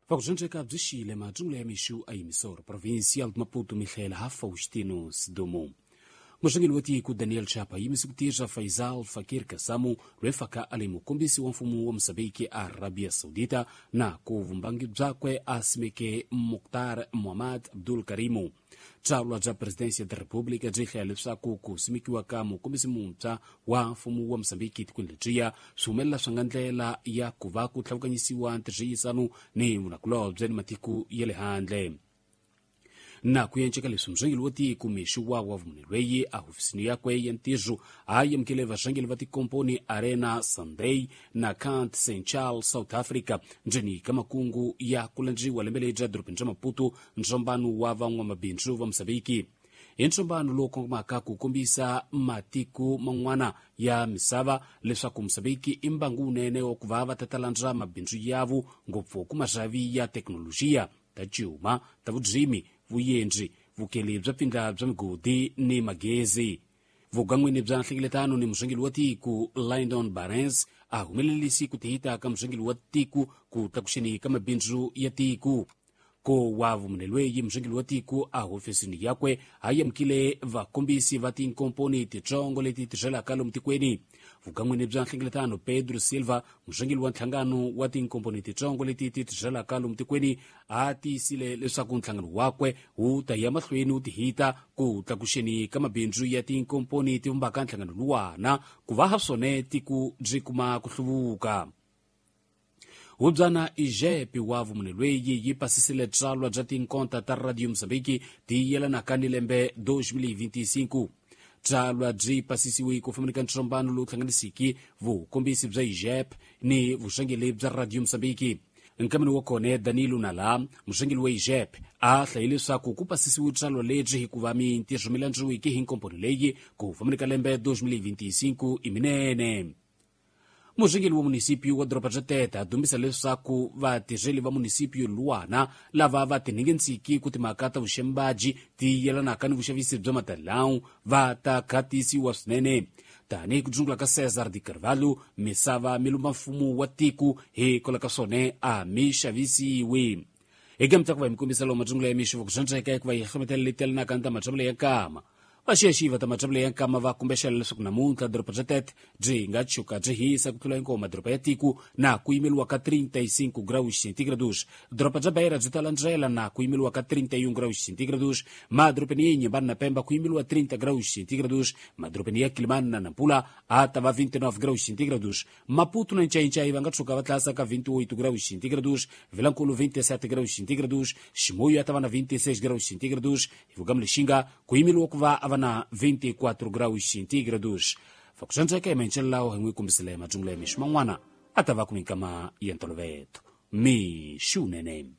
Vakudzondzeka byi xile matsungula ya mixu a yimisoro provincial de Maputo mihlela ha Faustino Sidumo. Murhangeri wa tiko Daniel Chapa yimise ku tirha Faisal Fakir Kasamu loyi faka a li mukombisi wa mfumo wa Mozambique a Arabia Saudita na ku vumbangi byakwe a simeke Mukhtar Muhammad Abdul Karimu. Tsalwa bya Presidencia da República byi hlaya leswaku ku simekiwa ka mukombisi muntshwa wa mfumo wa Mozambique tikweni lebyiya swi humelela swi nga ndlela ya ku va ku tlhavukanyisiwa ntirhisano ni vunakulobye ni matiko ya le handle. Na ku enceka leswi murhangeri wa tiko mixi wa vumune lweyi a hofisini yakwe ya ntirho a amukele varhangeri va tikomponi Arena Sunday na Kant Central South Africa ndzeni ka makungu ya ku landziwa lembe leri bya dorobeni bya Maputo ntsombano wa van'wamabindzu va Mozambique. Hi ntsombano lowu kongomaka ku kombisa matiko man'wana ya misava leswaku Mozambique i mbangu wunene wa ku va va ta landza mabindzu yavo ngopfu ku marhavi ya thekinolojiya ta cuma ta vudzimi vuyendzi vukeli bya pfindla bya migodi ni magezi. Vugan'wini bya nhlengeletano ni murhangeri wa tiko Lyndon Barnes a humelelisi ku tihita ka murhangeri wa tiko ku tlakuxeni ka mabindzu ya tiko. Ko wa vumune lweyi murhangeri wa tiko a hofisini yakwe a amukile vakombisi va tinkomponi titsongo leti tirhelaka lomu tikweni. Vugan'wini bya nhlengeletano Pedro Silva murhangeri wa nhlangano wa tinkomponi titsongo leti ti tirhelaka lomu tikweni a tiyisile leswaku nhlangano wakwe wu ta ya mahlweni wu tihita ku tlakuxeni ka mabindzu ya tinkomponi ti vumbaka nhlangano luwana ku va ha swone tiko byi kuma ku hluvuka. Hubyana Ijepe wa vumune lweyi yi pasisile tsalwa bya tinkonta ta Radio Mozambique ti yelanaka ni lembe 2025. Tsalwa byi pasisiwe ku fambeni ka ntsombano lowu hlanganisiki vukombisi bya IJEP ni vuxangeli bya Radio Mozambique. Nkameni wa kona Danilo Nala murhangeri wa IJEP a hlayile leswaku ku pasisiwe tsalwa lebyi hikuva mintirho mi landziweke hi nkomponi leyi ku fambeni ka lembe 2025 i minene. Murhangeri wa munisipio wa doroba bya Tete a dumbisa leswaku vatirheli va munisipio luwana lava va tinhingentsiki ku timhaka ta vuxembaji ti yelanaka ni vuxavisi bya matalawu va ta khatisiwa swinene. Tanihi ku dzungula ka Cesar de Carvalho misava mi lumba mfumo wa tiko hikwalaho ka swona a mi xavisiwi. Eka mitlaku va hi mi kombisa lowu matsungula ya mixo ku dyondzeka hikuva hi hlometela leti yelanaka ni ta matshambelo ya nkama. Vaxiyaxiyi va ta matshambelo ya nkama va kumbexela leswaku namuntlha doroba bya Tete byi nga tshuka byi hisa ku tlula hinkwawo madoroba ya tiko na ku yimeliwa ka 35 graus centígrados. Doroba bya Beira byi ta landzela na ku yimeliwa ka 31 graus centígrados. Madorobeni ya Inhambane na Pemba ku yimeliwa 30 graus centígrados. Madorobeni ya Quelimane na Nampula a ta va 29 graus centígrados. Maputo na Nchainchai va nga tshuka va tlasa ka 28 graus centígrados. Vilankulu 27 graus centígrados. Chimoio a ta va na 26 graus centígrados. Hi Lixinga ku yimeliwa ku va a va na 24 graus centígrados. Fakusandzeka ementshelelawo hi n'wi kombisile matsungula ya mixo man'wana a ta va ku minkama ya ntoloveto. Mixo wunene.